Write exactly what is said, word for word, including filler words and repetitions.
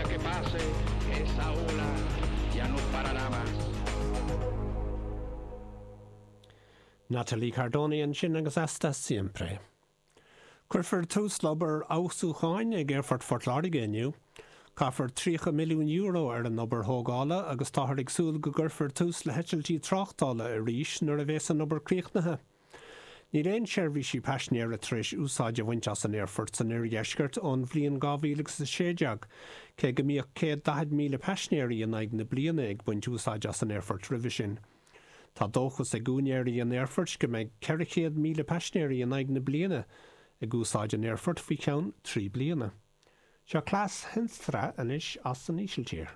día que pase, esa ola ya no parará más. Nathalie Cardoni ansin agus Hasta Siempre. Cuirfear tús le obair fheabhsúcháin ag Aerfort Phort Láirge inniu. Caithfear tríocha milliún euro ar an obair thógála agus táthar ag súil go gcuirfear tús le heitiltí tráchtála arís nuair a bheas an obair críochnaithe. Níl aon seirbhísí paisinéara tar éis úsáid a bhaint as an aerfort san oirdheisceart ón bhliain dhá mhíle agus a sé déag, cé go mbíodh céad daichead míle paisinéirí in aghaidh na bliana ag baint úsáid as an aerfort roimhe sin. Tá dóchas ag úinéirí an aerfoirt go mbeidh ceithre chéad míle paisinéirí in aghaidh na bliana ag úsáid an aerfoirt faoi cheann trí bliana. Seo Klaas Henstra anois as an Ísiltír.